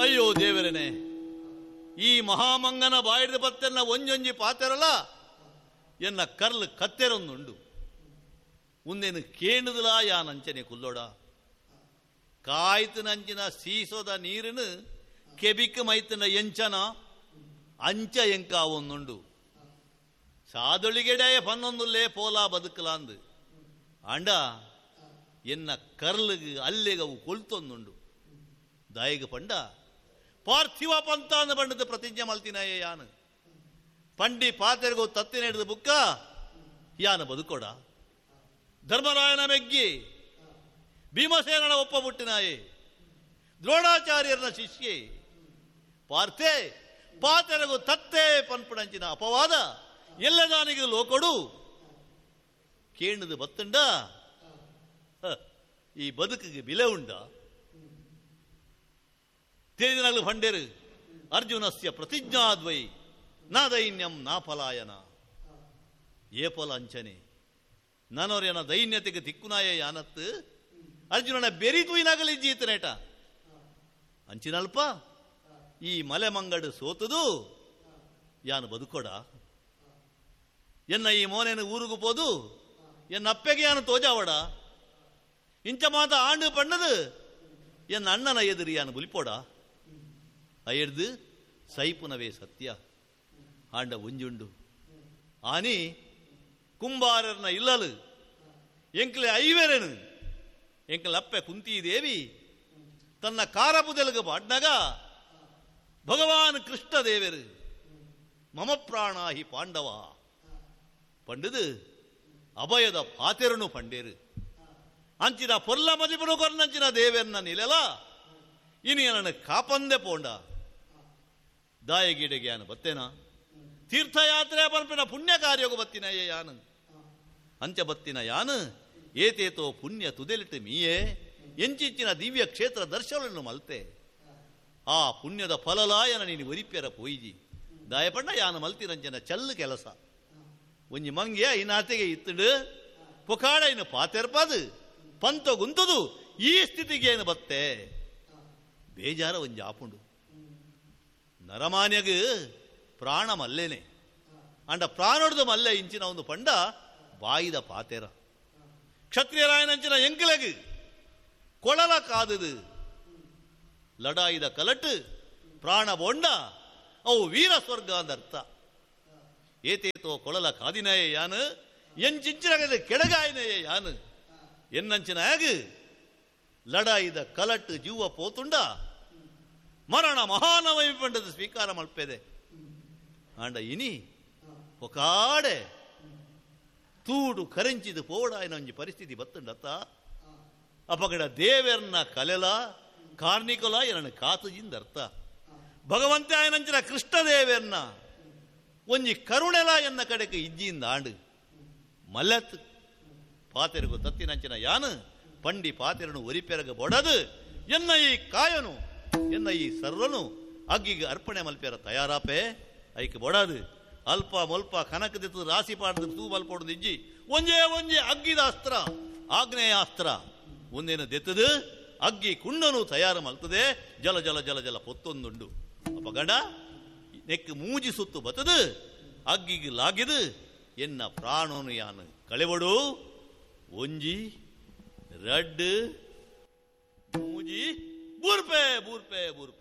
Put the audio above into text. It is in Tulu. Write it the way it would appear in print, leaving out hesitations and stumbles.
ಅಯ್ಯೋ ದೇವರನೆ, ಈ ಮಹಾಮಂಗನ ಬಾಯಿದ ಪತ್ತೆನ್ನ ಒಂಜೊಂಜಿ ಪಾತೆರಲ ಎನ್ನ ಕರ್ಲು ಕತ್ತೆರೊಂದುಂಡು. ಉಂದೇನು ಕೇಣುದಲಾ ಯಾನಂಚನೆ ಕುಲ್ಲೋಡ. ಕಾಯ್ತನಂಚಿನ ಸೀಸೋದ ನೀರನ್ನು ಕೆಬಿಕ್ ಮೈತನ ಎಂಚನ ಅಂಚ ಎಂಕ ಒಂದುಂಡು. ಸಾದೊಳಿಗೆಡೆಯ ಪನ್ನೊಂದುಲ್ಲೇ ಪೋಲಾ ಬದುಕಲಾಂದು ಆಂಡ ಎನ್ನ ಕರ್ಲಿಗೆ ಅಲ್ಲಿಗೆ ಅವು ಕೊಳ್ತೊಂದುಂಡು. ದಾಯಿಗ ಪಂಡ ಪಾರ್ಥಿವ ಪಂತಾನ ಬಣ್ಣದ ಪ್ರತಿಜ್ಞೆ ಮಲ್ತಿನಾಯೇ ಯಾನು. ಪಂಡಿ ಪಾತೆರೆಗೋ ತತ್ತಿನ ಹಿಡಿದು ಬುಕ್ಕ ಯಾನು ಬದುಕೋಡ. ಧರ್ಮರಾಯನ ಮೆಗ್ಗಿ ಭೀಮಸೇನನ ಒಪ್ಪ ಬುಟ್ಟಿನಾಯೇ, ದ್ರೋಣಾಚಾರ್ಯರನ ಶಿಷ್ಯೆ ಪಾರ್ಥೆ ಪಾತೆರೆಗು ತತ್ತೆ ಪನ್ಪುಣಂಚಿನ ಅಪವಾದ ಎಲ್ಲದಾನಿಗೆ ಲೋಕೊಡು ಕೇಣದು ಬತ್ತುಂಡ. ಈ ಬದುಕಿಗೆ ಬಿಲೆ ಉಂಡ. ತೇಜಿನಲ್ಲು ಭಂಡೇರು ಅರ್ಜುನಸ್ಯ ಪ್ರತಿಜ್ಞಾದ್ವೈ ನಾ ದೈನ್ಯಂ ನಾ ಫಲಾಯನ. ಏಪಲ ಅಂಚನೆ ನಾನೋರ್ಯನ ದೈನ್ಯತೆಗೆ ತಿಕ್ಕುನಾಯ ಯಾನತ್ತು ಅರ್ಜುನನ ಬೆರಿ ತೂಯಿನಾಗಲಿ ಜೀತನೇಟ ಅಂಚಿನಲ್ಪ ಈ ಮಲೆ ಮಂಗಡು ಸೋತದು ಯಾನು ಬದುಕೋಡ. ಎನ್ನ ಈ ಮೋನೇನು ಊರುಗು ಪೋದು ಎನ್ನ ಅಪ್ಪೆಗೆ ಯಾನು ತೋಜಾವಡ. ಇಂಚ ಮಾತ ಆಂಡು ಪಣ್ಣದು ಎನ್ನ ಅಣ್ಣನ ಎದುರು ಯಾನು ಬುಲಿಪೋಡ. ಅಯ್ಯರ್ದು ಸೈಪುನವೇ ಸತ್ಯ ಆಂಡ ಒಂಜುಂಡು. ಆನಿ ಕುಂಬಾರರ್ನ ಇಲ್ಲಲು ಎಂಕ್ಲೆ ಐವೆರೆನು ಎಂಕಲಪ್ಪೆ ಕುಂತೀದೇವಿ ತನ್ನ ಕಾರಪುದೆಲಗ ಪಾಡ್ನಾಗ ಭಗವಾನ್ ಕೃಷ್ಣ ದೇವರು ಮಮ ಪ್ರಾಣಾಹಿ ಪಾಂಡವ ಪಂಡದು ಅಭಯದ ಪಾತೆರನು ಪಂಡೇರು. ಅಂಚಿನ ಪೊರ್ಲ ಮದಿಪನು ಕೊರ್ನಂಚಿನ ದೇವೆರ್ನ ನಿಲೆಲ ಇನಿ ನನ್ನ ಕಾಪಂದೆ ಪೋಂಡ. ದಾಯಗೀಡೆಗೆ ಯಾನು ಬತ್ತೇನ ತೀರ್ಥಯಾತ್ರೆ ಪನ್ಪಿನ ಪುಣ್ಯ ಕಾರ್ಯಗು ಬತ್ತಿನ ಯಾನು ಅಂಚ ಬತ್ತಿನ ಯಾನು ಏತೇತೋ ಪುಣ್ಯ ತುದೆಲಿಟ್ಟು ಮೀಯೇ ಎಂಚಿಂಚಿನ ದಿವ್ಯ ಕ್ಷೇತ್ರ ದರ್ಶನವನ್ನು ಮಲ್ತೆ. ಆ ಪುಣ್ಯದ ಫಲಲಾಯನ ನೀನು ಒರಿಪ್ಯರ ಪೋಯಿಜಿ ದಾಯಪಣ್ಣ ಯಾನು ಮಲ್ತಿರಂಜನ ಚಲ್ಲು ಕೆಲಸ. ಒಂಜಿ ಮಂಗ್ಯ ಇನ್ನಾತೆಗೆ ಇತ್ತುಡು ಪುಕಾಡ ಇನ್ನು ಪಾತೆರ್ಪದು ಪಂತ ಗುಂತದು ಈ ಸ್ಥಿತಿಗೆ ಏನು ಬತ್ತೆ ಬೇಜಾರ ಒಂಜಿ ಆಪುಂಡು. ನರಮಾನ್ಯಗ ಪ್ರಾಣ ಮಲ್ಲೇನೆ ಅಂಡ ಪ್ರಾಣೊಡ್ದು ಮಲ್ಲೆ ಇಂಚಿನ ಒಂದು ಪಂಡ ಬಾಯಿದ ಪಾತೆರ. ಕ್ಷತ್ರಿಯರಾಯನಂಚಿನ ಎಂಕಲಗು ಕೊಳಲ ಕಾದುದು ಲಡಾಯಿದ ಕಲಟು ಪ್ರಾಣ ಬೊಂಡ ಅವು ವೀರ ಸ್ವರ್ಗ ಅಂದರ್ಥ. ಏತೇತೋ ಕೊಳಲ ಕಾದಿನಯೇ ಯಾನು ಎಂಚಿಂಚಿನ ಕೆಡಗಾಯನಯೇ ಯಾನು ಎನ್ನಂಚಿನ ಆಗ ಲಡಾಯಿದ ಕಲಟು ಜೀವ ಪೋತುಂಡ ಮರಣ ಮಹಾನವೈ ಪಂಡದ ಸ್ವೀಕಾರ ಮಲ್ಪೆದೆ. ಆಂಡ ಇನಿ ಒಕಾಡೆ ತೂಡು ಕರೆಂಚಿದು ಪೋಡಾಯಿನ ಒಂಜಿ ಪರಿಸ್ಥಿತಿ ಬತ್ತುಂಡತ್ತ. ಅಪಗಡ ದೇವೆರ್ನ ಕಲೆಲ ಕಾರ್ಣಿಕೊಲ ಎನ್ನ ಕಾತುಜಿಂದ ಅರ್ಥ. ಭಗವಂತ ಆಯನಂಚಿನ ಕೃಷ್ಣ ದೇವೆರ್ನ ಒಂಜಿ ಕರುಣೆಲ ಎನ್ನ ಕಡೆಗೆ ಇಜ್ಜಿಯಿಂದ ಆಂಡು ಮಲ್ಲತ್ ಪಾತೆರಗು ತತ್ತಿನಂಚಿನ ಯಾನು ಪಂಡಿ ಪಾತೆರನು ಒರಿಪೆರಗ ಬೊಡದು ಎನ್ನ ಈ ಕಾಯನು ಎನ್ನ ಈ ಸರ್ವನು ಅಗ್ಗಿಗೆ ಅರ್ಪಣೆ ಮಲ್ಪೆರ ತಯಾರಾಪೆ ಐಕೆ ಬೊಡದು. ಅಲ್ಪ ಮೊಲ್ಪ ಕನಕದಿತ್ತು ರಾಸಿ ಪಾಡದು ತೂ ಮಲ್ಪೊಡದು ಇಜ್ಜಿ ಒಂಜೇ ಒಂಜೇ ಅಗ್ಗಿದ ಅಸ್ತ್ರ ಆಗ್ನೇಯಾಸ್ತ್ರ ಒಂದೇನು ದೆತ್ತದು ಅಗ್ಗಿ ಕುಂಡನು ತಯಾರು ಮಲ್ತದೆ ಜಲ ಜಲ ಜಲ ಜಲ ಪೊತ್ತೊಂದುಂಡು. ಅಪಗಡ ನೆಕ್ ಮೂಜಿ ಸುತ್ತು ಬತ್ತದು ಅಗ್ಗಿಗೆ ಲಾಗಿದು ಎನ್ನ ಪ್ರಾಣನು ಯಾನು ಕಳೆವಡು. ಒಂಜಿ ರಡ್ಡು ಮೂಜಿ ಬೂರ್ಪೆ ಬೂರ್ಪೆ ಬೂರ್ಪೆ.